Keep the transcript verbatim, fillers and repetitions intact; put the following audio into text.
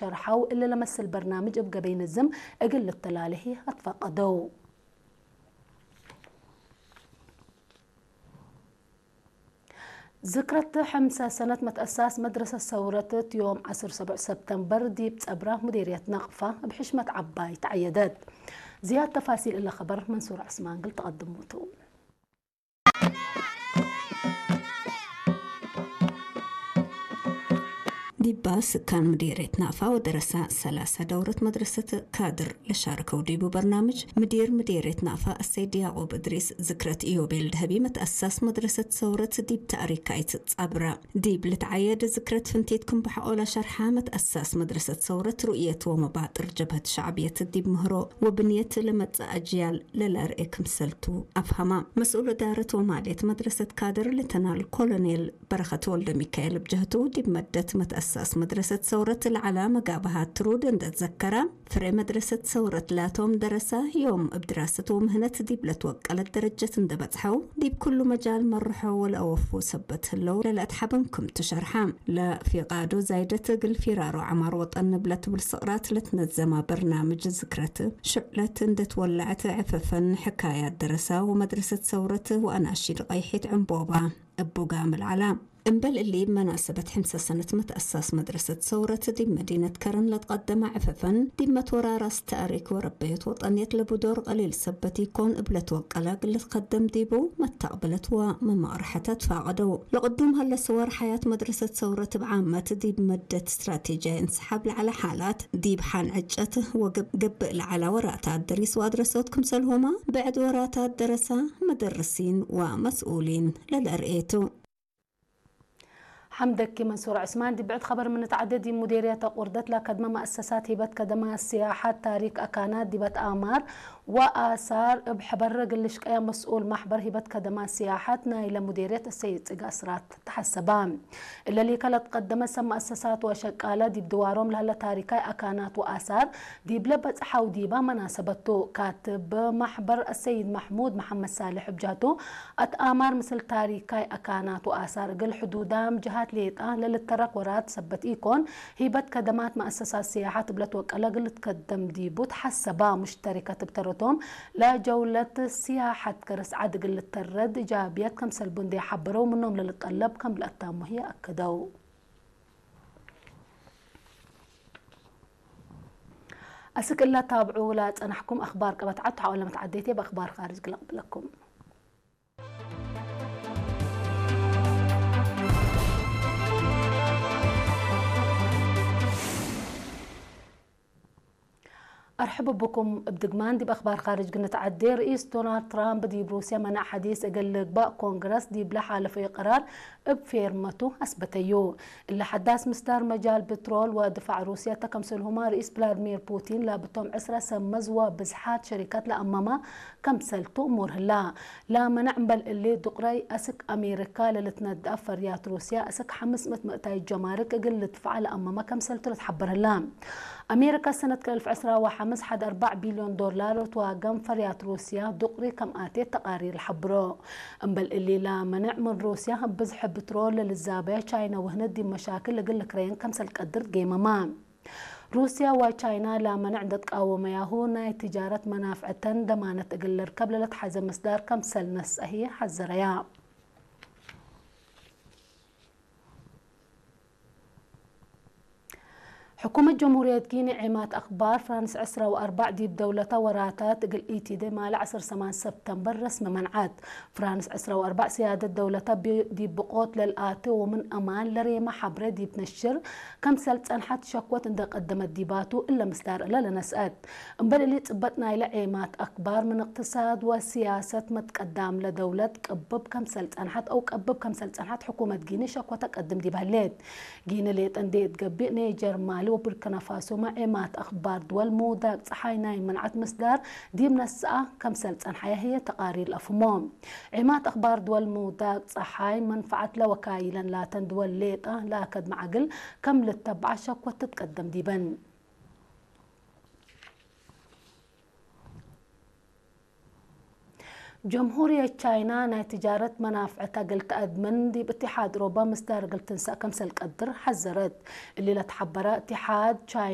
ሸርሐው፣ እሊ ለመስል በርናምጅ እብ ገበይ ንዝም እግል ልተላሌ ህይ አትፋቀደው። ዝክረት ሐምሰ ሰነት መትአሳስ መድረሰት ሰውረት ዮም ዐስር ሰብዕ ሰብተምበር ዲብ ጸብራ ሙዴርየት ነቅፋ እብ ሕሽመት ዐባይ ተዐየደት። ዝያድ ተፋሲል እለ ከበር መንሱር ዐስማን እግል ተቀድሙ ቱ። ዲባ ስካን ምዴርየት ናፋ ወደረሳ ሰላሳ ደውረት መድረሰት ካድር ለሻርከው ዲቡ በርናምጅ፣ ምዲር ምዴርየት ናፋ አሰይድ ያዕቁብ እድሪስ፣ ዝክረት ኢዮቤል ደሀቢ መትአሳስ መድረሰት ሰውረት ዲብ ተእሪካይት ጸብራ ዲብ ልትዓየድ ዝክረት ፍንቲት ክም በሐቆ ለሸርሐ፣ መትአሳስ መድረሰት ሰውረት ሩእየት ወመባጥር ጀብሀት ሸዕብየት ዲብ ምህሮ ወብንየት ለመጽእ አጅያል ለለአርኤ ክምሰልቱ አፍሀማ። መስኡል እዳረት ወማልየት መድረሰት ካድር ሌተናል ኮሎኔል በረኸት ወልደሚካኤል እብ ጀህቱ፣ ዲብ መደት መትአሳስ መድረሰት ሰውረት ለዐላ መጋብሃት ትሩድ እንደ ትዘከረ፣ ፍሬ መድረሰት ሰውረት ላቶም ደረሳ ዮም እብ ድራሰት ወምህነት ዲብ ለትወቀለት ደረጀት እንደ በጽሐው፣ ዲብ ክሉ መጃል መርሖ ወለአወፉ ሰበት ህለው ለለአትሐበን ክምቱ ሸርሐ። ለፊቃዶ ዛይደት እግል ፊራሮ ዐማር ወጠን እብ ለትብል ስቅራት ለትነዘማ በርናምጅ ዝክረት፣ ሽዕለት እንደ ትወለዐት ዕፈፈን፣ ሕካያት ደረሳ ወመድረሰት ሰውረት ወአናሺድ ቀይሒት ዕንቦባ እቡ ጋምል ዐላ። እምበል እሊ፣ እብ መናሰበት ሕምሰ ሰነት መትአሳስ መድረሰት ሰውረት ዲብ መዲነት ከረን ለትቀደመ ዕፈፈን፣ ዲብ መትወራራስ ተእሪክ ወረበየት ወጠንየት ለቡ ዶር ቀሊል ሰበት ኢኮን፣ እብ ለትወቀለ እግል ልትከደም ዲቡ መተቅብለት ወመማርሐተ ትፋቀደው። ለቅዱም ሀለ ሰወር ሐያት መድረሰት ሰውረት እብ ዓመት ዲብ መደት ስትራቴጅያይ እንሰሓብ ለዐለ ሓላት፣ ዲብ ሐን ዕጨት ወግብ-፣ ገብእ ለዐላ ወራታት ደሪስ ወአድረሶት ክምሰልሁመ፣ ብዕድ ወራታት ደረሳ፣ መደርሲን ወመስኡሊን ለለአርኤቱ። ሐምደኪ መንሱር ዑስማን። ዲብ ብዕድ ኸበር ምን ንትዐዴ፣ ዲብ ሙዴርየት አቁርደት ለከድመ መአሰሳት ሂበት ከደማት ስያሐት ታሪክ አካናት ዲበት አማር ወአሳር እብ ሐበር እግል ልሽቀየ መስኡል ማሕበር ሂበት ከደማት ስያሐት ናይለ ሙዴርየት እሰይድ ጽጌ አስራት ተሐሰበ። እለ ሊከ ለትቀደመ ሰብ መአሰሳት ወሸቃለ ዲብ ድዋሮም ለህለ ታሪካይ አካናት ወአሳር ዲብለ በጽሐው ዲባ መናሰበት ቱ። ካትብ ማሕበር አሰይድ መሕሙድ መሐመድ ሳልሕ እብ ጀህቱ፣ አትአማር ምስል ታሪካይ አካናት ወአሳር እግል ሕዱዳም ጀሃት ሌጠ ለልተረክ ወራት ሰበት ኢኮን፣ ሂበት ከደማት መአሰሳት ስያሐት እብ ለትወቀለ እግል ልትከደም ዲቡ ተሐሰባ። ሙሽተሪከት እብ ተረቶም ለጀውለት ስያሐት ከርስ ዐድ እግል ልተረድ እጃብየት ከምሰልቡ እንዴ ሐበረው፣ ምኖም ለልጠለብ ከም ለአታሙ ህዬ አከደው። አስክ እለ ታብዑ ለጸናሕኩም አክባር ቀበት ዐድ ተሐወለ መትዓዴቴ በአክባር ካርጅ ግለቅብለኩም። አርሕብ ብኩም። እብ ድግማን ዲብ አክባር ካርጅ ግንትዐዴ፣ ርኢስ ዶናልድ ትራምፕ ዲብ ሩስየ መነዕ ሐዲስ እግል ልግባእ ኮንግረስ ዲብለ ሓለፈዩ ቅራር እብ ፌርመቱ አስበተዩ። እለ ሐዳስ ምስዳር መጃል ብትሮል ወድፋዕ ሩስየ ተ፣ ከምሰልሁመ ርኢስ ቭላድሚር ፑቲን ላብቶም ዕስረ ሰብ መዝ ወብዝሓት ሸሪከት ለአመመ ከምሰልቱ እሙር ህላ። ለመነዕ እምበል እሊ፣ ዱቅረይ አስክ አሜሪካ ለልትነደአፍ ፈርያት ሩስያ አስክ ሐምስ ምእት ምእታይት ጀማርክ እግል ልድፈዐ ለአመመ ከምሰልቱ ልትሐበር ህላ። አሜሪካ ሰነት ክልኤ አልፍ ዕስራ ወሐምስ ሐድ አርበዕ ቢልዮን ዶላር ልትዋገም ፈርያት ሩስያ ዱቅሪ ከም አቴት ተቃሪር ለሐብሮ። እምበል እሊ፣ ለመነዕ ምን ሩስያ እብ ብዝሕ ብትሮል ለልዛበየ ቻይና ወህንድ ዲብ መሻክል እግል ልክረየን ከምሰል ቀድር ጌመማ። ሩስያ ወቻይና ለመነዕ እንደ ትቃወመያሁ፣ ናይ ትጃረት መናፍዕተን ደማነት እግል ልርከብ ለለትሐዘ ምስዳር ከምሰል ነስአ ህዬ ሐዘረያ። ሕኩመት ጀምሁርየት ጊኒ ዔማት አክባር ፍራንስ ዕስራ ወአርበዕ ዲብ ደውለተ ወራታት እግል ኢቲዴ ማለ ዐስር ሰማን ሰብተምበር ረስሚ መንዐት። ፍራንስ ዕስራ ወአርበዕ ስያደት ደውለተ ቢ-፣ ዲብ ብቆት ለልአቴ ወምን አማን ለሬመ ሐብሬ ዲብ ነሽር ከምሰል ጸንሐት ሸኮት እንደ ቀደመት ዲባቱ እለ ምስዳር እለ ለነስአት። እምበል እሊ ጽበጥ ናይለ ዔማት አክባር ምን እቅትሳድ ወስያሰት መትቀዳም ለደውለት ቅብብ ከምሰል ጸንሐት አው ቀብብ ከምሰል ጸንሐት ሕኩመት ጊኒ ሸኮተ ቀድም ዲብ ህሌት። ጊኒ ሌጠ እንዴ እት ገብእ፣ ኔጀር፣ ማሊ ወቡርኪናፋሶመ ዔማት አክባር ድወል ምውዳቅ ጸሓይ ናይ መንዐት ምስዳር ዲብ ነስአ ከምሰል ጸንሐየ ህዬ ተቃሪር ለአፍህሞ። ዔማት አክባር ድወል ምውዳቅ ጸሓይ መንፈዐት ለወካይለን ላተን ድወል ሌጠ ለአከድመ ዐግል ከም ልተብዐ ሸኮት ትትቀደም ዲበን። ጀምሁርየት ቻይና ናይ ትጃረት መናፍዕታ እግል ተአድምን ዲብ እትሓድ ኡሮባ ምስዳር እግል ትንሰእ ከምሰል ቀድር ሐዘረት። እሊ ለትሐበረ እትሓድ ቻይና፣